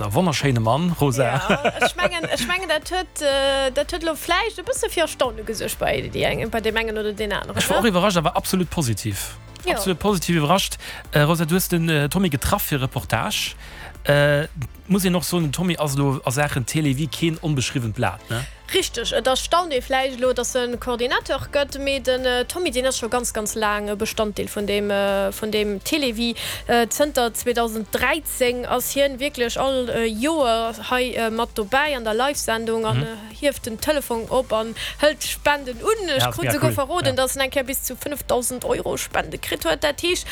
ass e wonnerschéine Mann, Rosa. Jo, ech mengen, ech mengen dat huet, dat huet elo vläicht e bësse fir Erstaune gesuergt bei déi eng, bei deem engen oder deen aneren, Ech war ne? och iwwerrascht, awer absolut positiv. Jo. Absolut positiv iwwerrascht. Rosa, du hues den Tommy getraff fir e Reportage. Muss een och soen, den Tommy ass elo a Saachen Télévie keen onbeschriwwent Blat, ne? Richteg, et erstaunt ee vläicht elo, datt en Coordinateur gëtt, mee den Tommy, deen ass scho ganz, ganz laang e Bestanddeel vun deem, vun deem Télévie. Zënter 2013 ass hien wierklech all Joer hei mat dobäi an der Live-Sendung an hieft den Telefong op an hëlt d'Spenden un. Ech krut esouguer verroden, datt en eng Kéier bis zu 5.000 Euro Spende kritt huet. Dat heescht,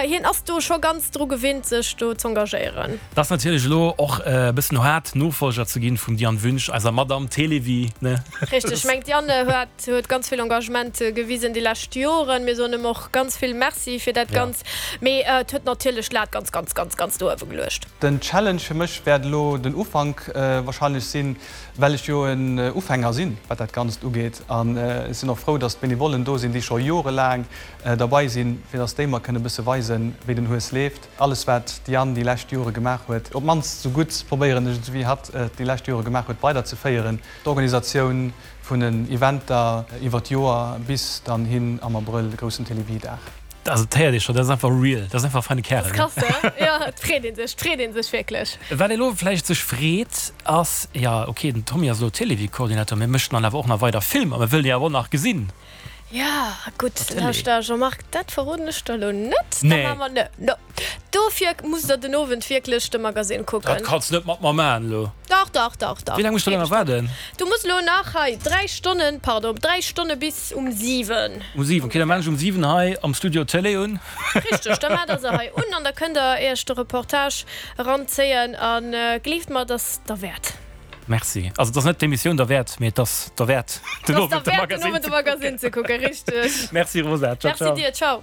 hien ass do scho ganz dru gewinnt, sech do z'engagéieren. Et ass natierlech elo och e bëssen haart, Nofolger ze ginn vum Diane Wünsch, eiser Madame Télévie, ne? Richteg, ech mengen d'Diane huet huet ganz vill Engagement gewisen déi lescht Joren. Mir soen em och ganz vill Merci fir dat Ganzt. Mee et huet natierlech d'Lat ganz, ganz, ganz, ganz no uewe geluecht. Den Challenge fir mech wäert elo den Ufank wahrscheinlech sinn, well ech jo en Ufänger sinn, wat dat Ganzt ugeet. An ech sinn och frou, dass d'Benevollen do sinn, déi scho jorelaang derbei sinn, fir dass déi mer kënne bësse weisen, wéi den Hues leeft. Alles wat d'Diane déi lescht Jore gemaach huet, op d'mannst esou gutt probéieren ech et wéi hatt et déi lescht Jore gemaach huet, weiderzeféieren. D'Organisatioun vun den Eventer iwwer d'Joer bis dann hin am Abrëll, de groussen Télévie-Dag. Also et héiert ee scho, dat ass einfach real, dat ass einfach e feine Kärel. Dat ass krass, he? Jo, et freet ee sech, et freet ee sech wierklech. Wat ee lo vläicht sech freet ass, jo ok, den Tommy ass elo Télévie-Coordinateur, mee mécht en dann awer och nach weider Filmer? Mir wëllen e awer och nach gesinn. Ja, gutt, lauschter Jean-Marc, dat verroden ech der elo net. Nee. Da maache mer, ne, no. Dofir musst der den Owend wierklech de Magasinn kucken. Dat kanns net mat mer maachen elo. Dach, dach, dach, dach. Wéi laang muss ech da nach waarden? Du muss elo nach hei 3 Stonnen, pardon, 3 Stonne bis um 7. Um 7, okay, da maachen ech um 7 hei am Studio d'Tëlee un. Richteg, da maacht der se hei un an da kënnt der iech de Reportage eranzéien a gleeft mer, et ass derwäert. Merci. Also et ass net d'Emissioun derwäert, mee et ass derwäert den Owend de Magasinn ze kucken. Richteg. Merci Rosa. Ciao, ciao. Merci dir. Ciao.